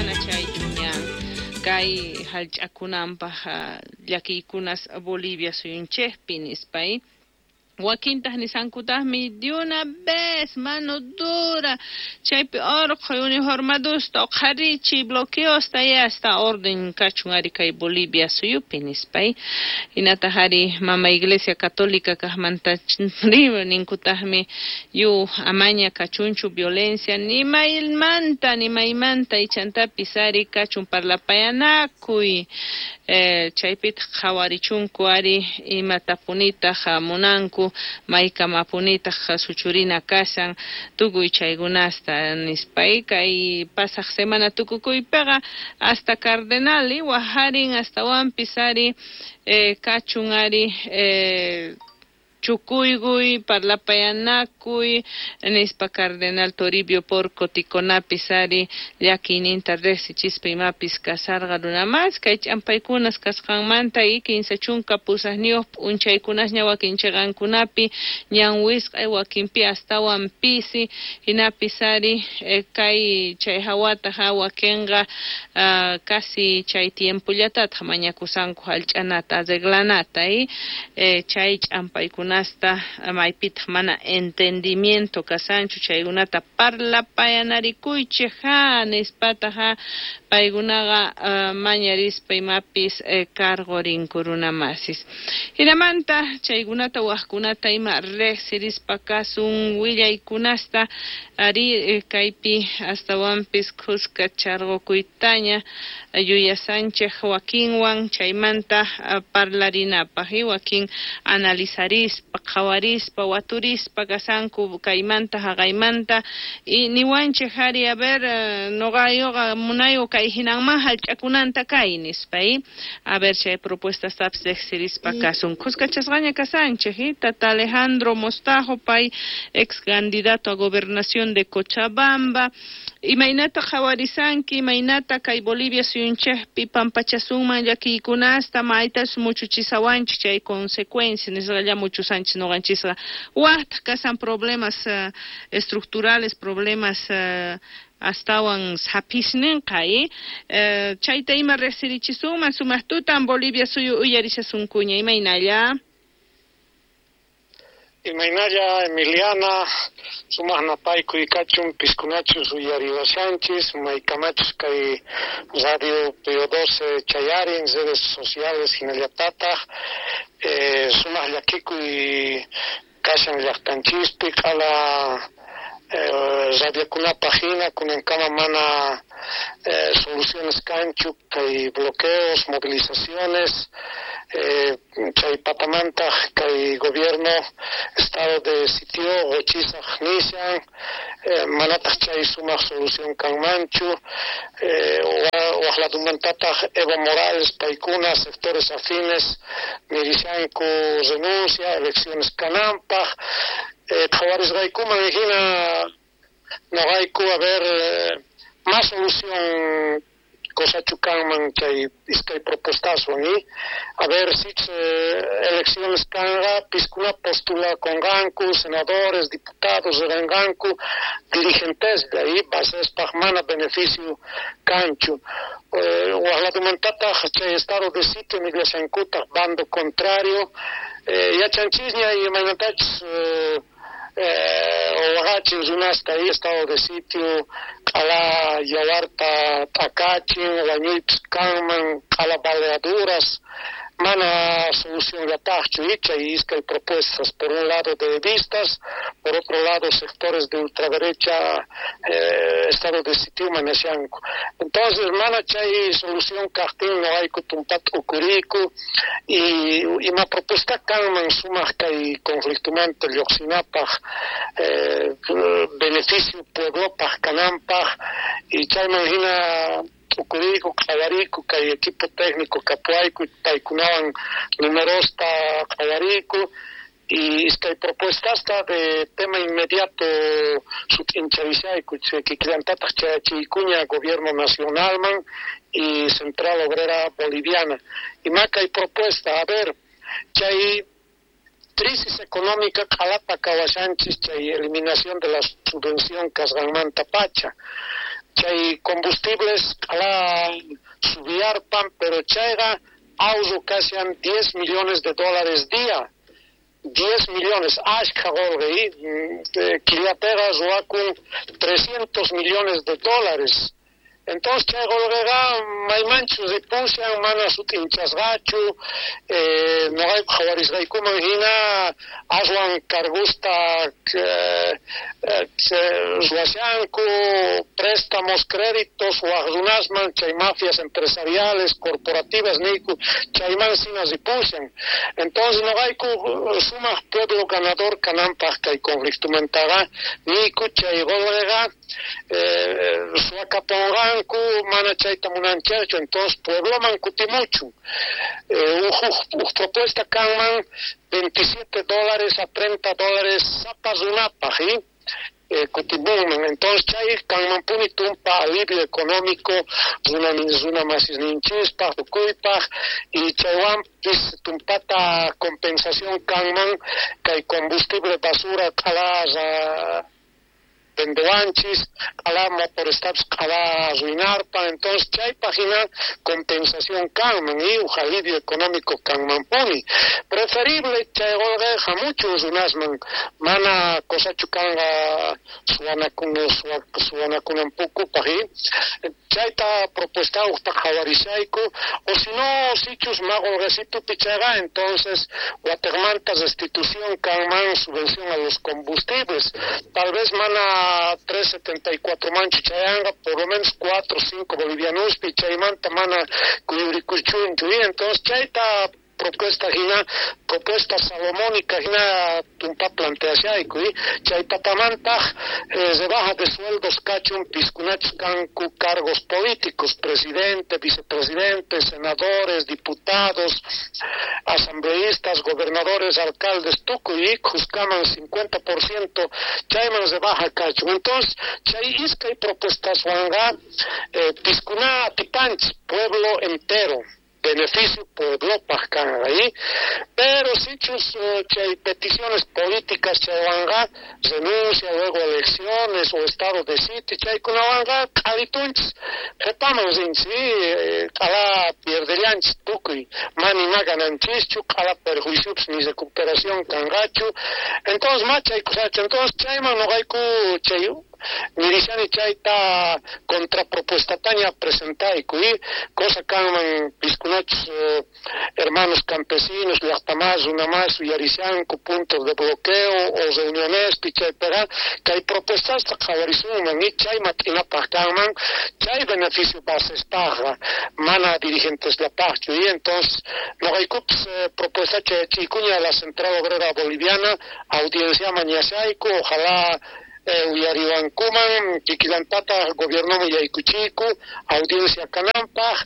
Mana chaychu ñan kay hallch'akunanpaq llakiykunas Bolivia suyunchikpi nispay. Wakintaq nisankutaqmi de una vez mano dura chaypi urqhuy uniformadusta uqharichiy bloqueosta y hasta orden kachun ari kay Bolivia suyupi nispay. Hinataq ari mama Iglesia Católica kaqmanta ninkutaqmi yu amaña kachunchu violencia ni maymanta ni maymanta ichantapis ari kachun parlapayanakuy chaypitaq qhawarichunku ari imatapunitaq munanku maykamapunitaq suchurina kashan tukuy chaykunasta nispay. Kay pasaq semana tukukuypiqa hasta cardenal wajarin astawanpis ari kachun ari chukuykuy parlapayanakuy nispa cardenal Toribio Porco Ticonapis ari llakiyninta riqsichispa imapis kasarqa runamas kay ch'ampaykunas kasqanmanta y 38 p'unchaykunasña wakin chiqankunapi ñan wisq'ay wakinpi astawan pisi hinapis ari kay chay hawataq wakinqa casi chay tiempollatataq mañakusanku hallch'anata arreglanata y chay ch'ampaykuna maypitaq mana entendimiento kasanchu chaykunata parlapayanarikuychik ha nispataq ha paykunaqa mañarispa imapis cargo runamasis. Hinamanta chaykunata waqkunata ima riqsirispa kasun willaykunasta ari kaypi astawanpis khuska charqukuytaña yuyasanchik wakinwan chaymanta parlarinapaq y wakin analizarispa qhawarispa waturispa kasanku kaymanta haqaymanta y niwanchik ari a ver nuqayuqa munayu kay hinanman hallch'akunanta kay nispa a ver chay propuestastapis riqsirispa kasun. Khuskachasqaña kasanchik tata Alejandro Mostajo pay ex candidato a gobernación de Cochabamba. Imaynata qhawarisanki imaynata kay Bolivia suyunchikpi pampachasunman llakiykunasta maytas muchuchisawanchik chay consecuencia nisqalla muchusanchik nuqanchisqa waqtaq kasan problemas estructurales problemas astawan sapisninqa chayta ima riqsirichisunman sumaq tutan Bolivia suyu uyarishasunkuña imaynalla. Imaynalla Emiliana, sumaq napaykuy kachun piskunachus uyariwashanchis maykamachus kay Radio PO12 chayarin redes sociales hinallatataq sumaq llakikuy kashan llaqtanchispi q'ala radiokunapaq hina kunankama mana soluciones kanchu kay bloqueos, movilizaciones chay patamantaq kay gobierno estado de sitio qochisaq nishan manataq chay sumaq solución kanmanchu waq ladumantataq Evo Morales paykuna sectores afines nirishanku renuncia elecciones kananpaq qhawarisqaykuman hina noqayku a ver más solución cosachu kanman chay iskay propuestaswan y a ver si elecciones kanqa piskuna postulakunqanku senadores, diputados riranqanku dirigentes de ahí basespaq mana beneficio kanchu waq ladumantataq chay estado de sitio nillashankutaq bando contrario yachanchisña imaynatachus waqachin runasta estado de sitio q'ala yawarta t'akachin wañuypis kanman q'ala baleaduras mana solución llataqchu chay iskay propuestas por un lado de vistas por otro lado sectores de ultraderecha estado de sitio manashanku entonces mana chay solución kaqtin noqayku tumpata ukuriku y ima propuesta kanman sumaq kay conflictomanta lluqsinapaq beneficio pueblopaq kananpaq y chayman hina t'ukuriku qhawariku kay equipo técnico kapuayku paykunawan numerosta qhawariku y iskay propuestasta de tema inmediato sut'incharishayku kikillantataq chayachiykuña gobierno nacionalman y Central Obrera Boliviana. Ima kay propuesta, a ver, chay crisis económica q'alata kawashanchis chay eliminación de la subvención kasqanmanta pacha. Chay combustibles q'ala subiyarpan, pero chayqa ahorro kashan 10 millones de dólares día. 10 millones, ashkha qolqe, killapiqa ruwakun 300 millones de dólares. Entonces chay qolqeqa maymanchu ripushan, mana sut'inchasqachu, noqayku qhawarisqaykuman hina aswan cargusta ruwashanku, préstamos, créditos waj runasman, chay mafias empresariales, corporativas niyku, chayman sina ripushan. Entonces noqayku sumaq pueblo ganador kananpaq kay conflictomantaqa niyku chay qolqeqa suwakaponqanku, mana chayta munanchikchu, entonces puebloman kutimuchun. Uj propuesta kanman $27 a $30 sapa runapaq, kutimunman. Entonces chay kanmanpuni tumpa alivio económico runa masisninchispaq, tukuypaq, y chaywanpis tumpata compensación kanman kay combustible basura q'ala vendewanchis, q'ala motorestapis q'ala arruinarpa. Entonces chaypaq hina compensación kanman y uj alivio económico kanmanpuni. Preferible chay qolqe hamuchun runasman, mana cosachu kanqa suwanakunampukupaq. Chayta propuesta ujta qhawarishayku, o si no, sichus ma qolqesitupi chayqa, entonces wateqmanta restitución kanman, subvención a los combustibles, tal vez mana 3.74 manchu chayanqa, por lo menos 4 o 5 bolivianospi, chaymanta mana kuyurikuchunchu. Entonces chayta propuesta hina, propuesta salomónica hina tumpa planteashayku, chay patamantaq rebaja de sueldos kachun piskunachus kanku cargos políticos, presidente, vicepresidente, senadores, diputados, asambleístas, gobernadores, alcaldes, tukuy khuskaman 50% chayman rebaja kachun. Entonces chay iskay propuestaswanqa piskuna atipanchis pueblo entero, beneficio pueblopaq kanqa, pero sichus chay peticiones políticas chaywanqa renuncia, luego elecciones o estado de sitio, chaykunawanqa q'alitunchis qhipaman rinchis, q'ala pierdellanchis tukuy, mana ima gananchischu, q'ala perjuiciopis ni recuperación kanqachu. Entonces ma chay kusachu. Entonces chayman noqayku chay nirishani chayta contrapropuestataña presentayku, cosa kanman piskunachus hermanos campesinos, llaqtamas, runamas uyarishanku puntos de bloqueo o reunionespi chaypiqa kay propuestasta qhawarisunman y chay mat'inapaq kanman chay beneficio basespaqqa, mana dirigenteslapaqchu. Y entonces noqaykupis propuesta chayachiykuña a la Central Obrera Boliviana, audiencia mañashayku, ojalá uyariwankuman kikillantata gobiernoman yaykuchiyku audiencia kananpaq.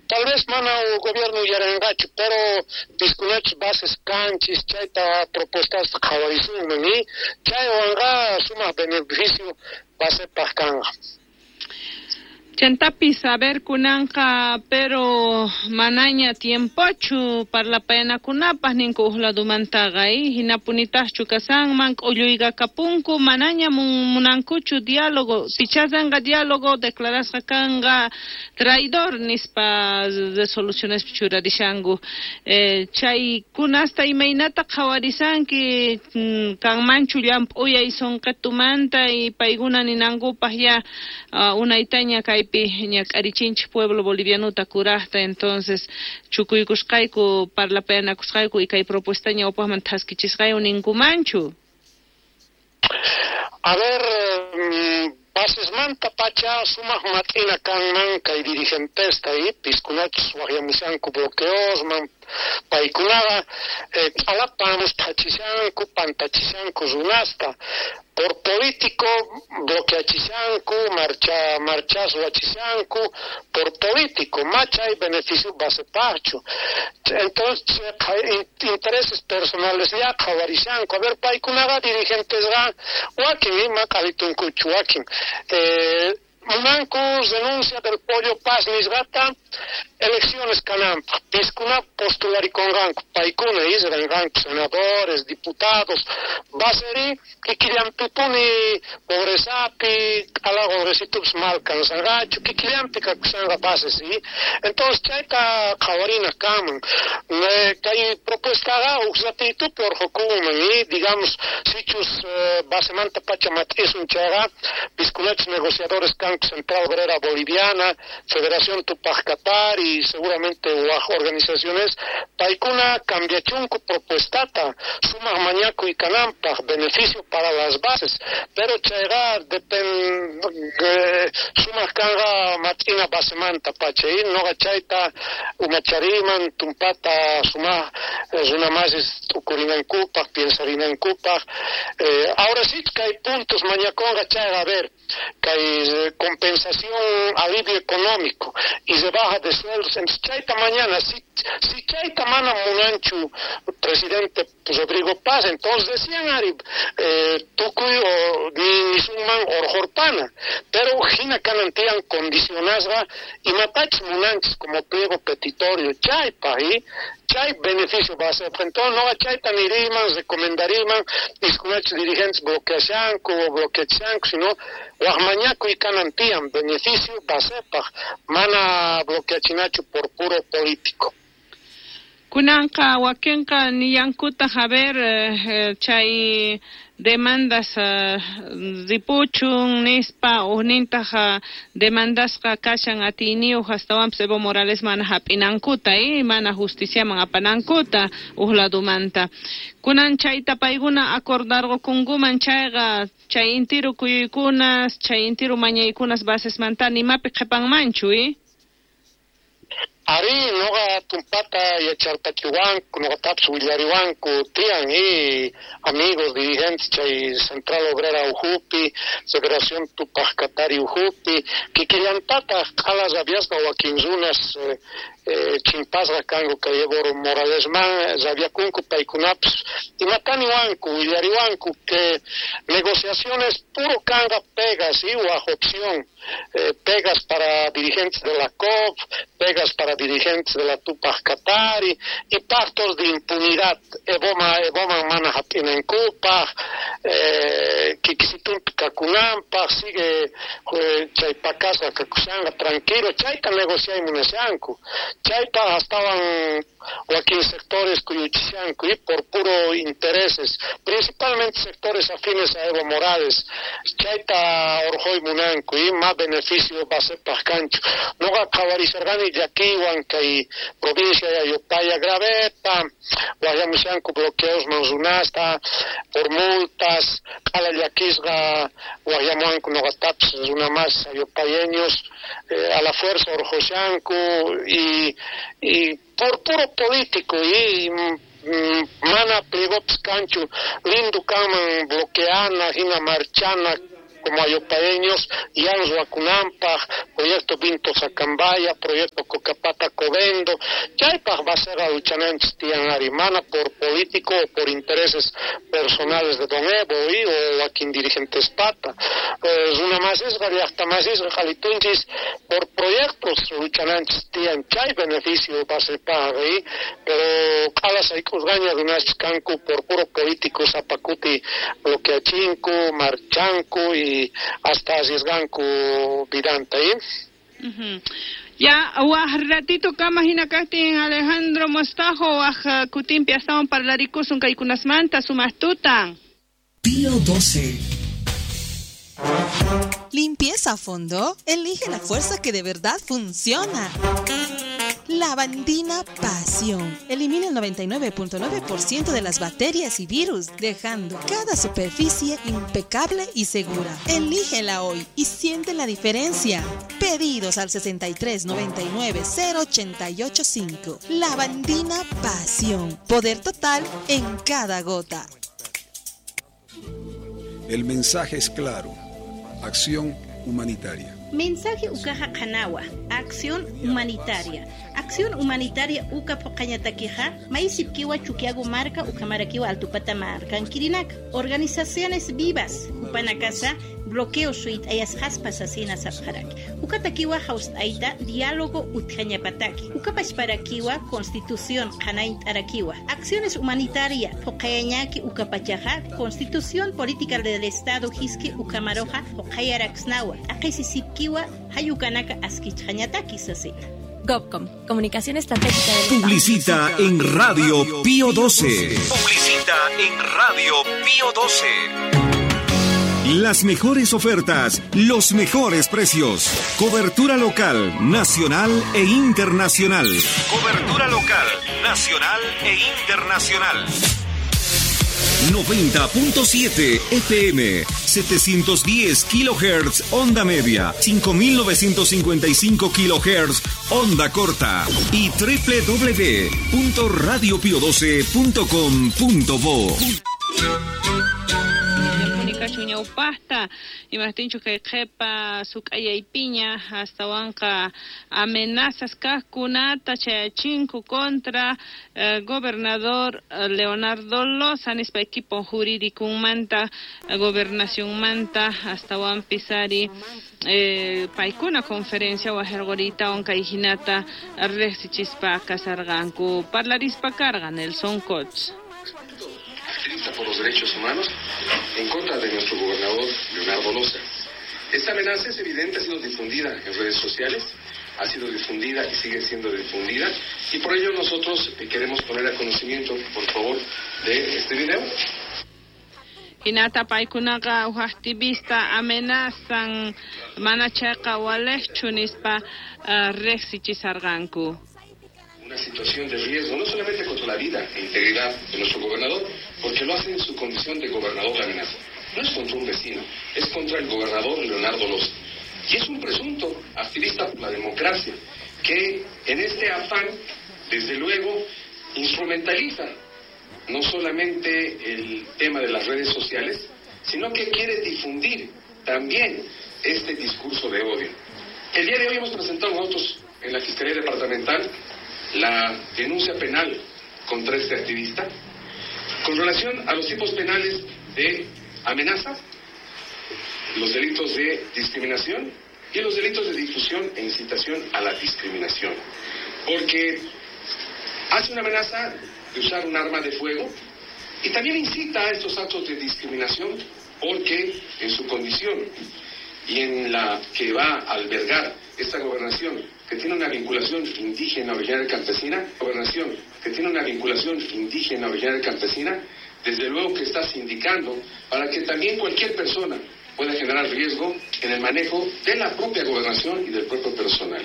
Tal vez mana gobierno uyarinqachu, pero piskunachus bases kanchis chayta propuestasta qhawarisunman y chaywanqa sumaq beneficio basepaq kanqa. Chantapis, a ver, kunanqa, pero manaña tiempochu parlapayanakunapaq ninku uj ladumantaqa, hinapunitaqchu kasanman k'ulluyqa kapunku, manaña munankuchu diálogo, pichasanqa diálogo, declarasqa kanqa traidor nispa resolucionespi churarishanku. Chaykunasta imaynata qhawarisanki, kanmanchu llamp'uyay sunqitumanta y paykuna ninankupaq ya unaytaña kaypi ñak'arichinchik pueblo bolivianuta kurajta, entonces chukuykusqayku parlapayanakusqayku y kay propuesta ñawpaqman thaskichisqayku ninkumanchu. A ver, basesmanta pacha sumaq mat'ina kanman kay dirigentesta piskunachus waqyamushanku bloqueosman, paykunaqa q'alapamos thachishanku, pantachishanku runasta, por político bloqueachishanku, marchas ruwachishanku, por político, machay beneficio basepaqchu. Entonces intereses personales ya qhawarishanku. A ver, paykunaqa dirigentesqa wakin ima q'alitunkuchu wakin. Munanku renuncia del Pollo Paz nisqata, Elecciones kananpaj, piskuna postularikonqanku, paykuna isranqanku senadores, diputados, baseri kikillanpipuni pobrezapi, q'ala qolqesitupis mal kansanqachu, kikillanpi kakushanqa bases, entonces chayta qhawarina kanman. Kay propuestaqa uj ratitupi urqukunman, y digamos, sichus basemanta pacha mat'isun chayqa, piskunachus negociadores kanku Central Obrera Boliviana, Federación Tupaj Katari, y seguramente waj organizaciones, paykuna cambiachunku propuestata, sumaq mañakuy kananpaj, beneficio para las bases, pero chayqa depende sumaq kanqa mat'ina basemanta pacha, y noqa chayta umachariman tumpata sumaq runamasis t'ukurinankupaj, piensarinankupaj. Ahora sí kay puntos mañakunqa chayqa, a ver, kay compensación, alivio económico y rebaja de sueldos. Entonces chayta mañana, si chayta mana munanchu presidente Rodrigo Paz, entonces decían ari tukuy o nisunman orjorpana, pero hina kanan tiyan condicionasqa imatachus munanchis como pliego petitorio chaypaj, y chay beneficio va a ser. Entonces noqa chayta niriman, recomendariman, iskunachus dirigentes bloqueashanku o bloqueachanku, sino waj mañakuy kanan tiyan beneficio basepaj, mana bloqueachinachu por puro político. Kunanqa wakinqa niyankutaj, a ver, chay demandas ripuchun nispa, ujnintaj demandasqa kashan atiyniyuq astawanpis Evo Morales mana hap'inankuta, mana justiciaman apanankuta uj ladumanta. Kunan chayta paykuna acordarqukunkuman chayqa, chay intiru kuyuykunas, chay intiru mañaykunas basesmanta nimapi qhipanmanchu, Ari, noqa tumpata yacharpachiwanku, noqatapis willariwanku tiyan, y amigos dirigentes chay Central Obrera ujupi, Federación Tupaj Katari ujupi, kikillantataq q'ala rabiasqa wakin runas chimpasqa kanku kay Evo Moralesman rabiakunku paykunapis, imataniwanku, willariwanku que negociaciones puro kanqa pegas y waj opción, pegas para dirigentes de la COP, pegas para dirigentes de la Tupaj Katari y pactos de impunidad, Evoman mana hap'inankupaj, kikisitunpi kakunanpaj, sigue chay pakasqa kakushanqa tranquilo, chayta negociay munashanku, chayta astawan wakin sectores kuyuchishanku y por puro intereses, principalmente sectores afines a Evo Morales, chayta orjoy munanku y más beneficio basepaj kanchu. Noqa qhawarisharqani llakiywan kay provincia de Ayopaya graveta, waqyamushanku bloqueosman runasta por multas, q'ala llakisqa waqyamuwanku noqatapis runa más ayopayeños, a la fuerza orjoshanku y por puro político y mana pliegopis kanchu, lindo kanman bloqueana, hina marchana como ayopaeños, yan ruakunampaj, proyecto Vinto Sacambaya, proyecto Cocapata Covendo, chaypaj basera luchananchis tiyan ari, mana por político o por intereses personales de don Evo y o wakin dirigentes pata. Runa masisqa, llaqta masisqa qhalitunchis por proyectos luchananchis tiyan, chay beneficio basepaj, pero q'ala sayk'usqaña runaschis kanku por puro político sapakuti bloqueachinku, marchanku y hasta arriesganku vidanta, Ya, waj ratito kama hina kajtin Alejandro Mostajo, waj kutinpi astawan parlarikusun kaykunasmanta sumaq tutan. Pío 12. Limpieza a fondo. Elige la fuerza que de verdad funciona. Lavandina Pasión. Elimina el 99.9% de las bacterias y virus, dejando cada superficie impecable y segura. Elígela hoy y siente la diferencia. Pedidos al 63 99 088 5. Lavandina Pasión. Poder total en cada gota. El mensaje es claro. Acción humanitaria. Mensaje ukaja qanawa, acción humanitaria. Acción humanitaria uka poqañatakija, maisipkiwa Chuquiago marca, ukamarakiwa altupata marca, Anquirinac. Organizaciones vivas, upanakasa, bloqueo suit ayas jaspas asina sapjaraki. Ukatakiwa aita diálogo utjañapataki. Ukapachparakiwa constitución qanaintarakiwa. Acciones humanitaria, poqayañaki ukapachaja, constitución política del Estado hiski ukamaroja, poqayaraxnawa. Aqisisipkiwa hayukanaka askichjañataki sasina. GovCom, Comunicación Estratégica del Publicita en Radio Pío 12. Publicita en Radio Pío 12. Las mejores ofertas, los mejores precios. Cobertura local, nacional e internacional. Cobertura local, nacional e internacional. 90.7 FM, 710 kHz onda media, 5955 kHz onda corta y www.radiopio12.com.bo. Ñawpajta imajtinchu kay qhepa suk'ayaypiña astawanqa amenazas kajkunata chayachinku contra gobernador Leonardo Loza nispa equipo jurídicunmanta gobernacionmanta astawanpis ari paykuna conferencia wajarquritawan kay hinata riqsichispa kasarqanku parlarispa karqa Nelson Koch. Activista por los derechos humanos en contra de nuestro gobernador Leonardo Loza. Esta amenaza es evidente, ha sido difundida en redes sociales, ha sido difundida y sigue siendo difundida, y por ello nosotros queremos poner a conocimiento, por favor, de este video. Hinata paykunaqa uj activista amenazan mana chayqa walejchu nispa riqsichisarqanku. Una situación de riesgo, no solamente contra la vida e integridad de nuestro gobernador, porque lo hace en su condición de gobernador la amenaza. No es contra un vecino, es contra el gobernador Leonardo Loza. Y es un presunto activista por la democracia, que en este afán, desde luego, instrumentaliza no solamente el tema de las redes sociales, sino que quiere difundir también este discurso de odio. El día de hoy hemos presentado nosotros en la Fiscalía Departamental la denuncia penal contra este activista con relación a los tipos penales de amenaza, los delitos de discriminación y los delitos de difusión e incitación a la discriminación. Porque hace una amenaza de usar un arma de fuego y también incita a estos actos de discriminación porque en su condición y en la que va a albergar esta gobernación, que tiene una vinculación indígena originaria campesina, gobernación que tiene una vinculación indígena originaria campesina, desde luego que está sindicando para que también cualquier persona pueda generar riesgo en el manejo de la propia gobernación y del propio personal.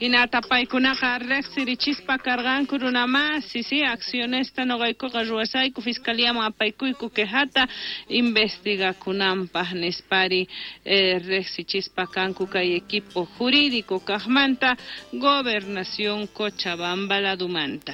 Hinata paykunaqa riqsirichispa karqanku runamasi, sí, accionesta noqaykuqa ruwasayku fiscaliaman apaykuyku quejata investigakunanpaq nispari riqsichispa kanku kay equipo jurídico kaqmanta gobernación Cochabamba ladumanta.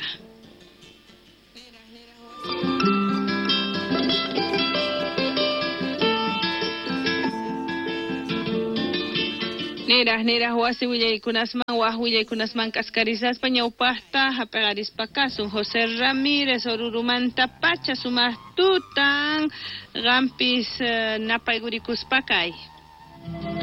Niraj wasi willaykunasman waj willaykunasman k'askarisaspa ñawpaqta hap'aqarispa kasun José Ramírez Orurumanta pacha sumaq tutan qampis napaykurikuspa kay.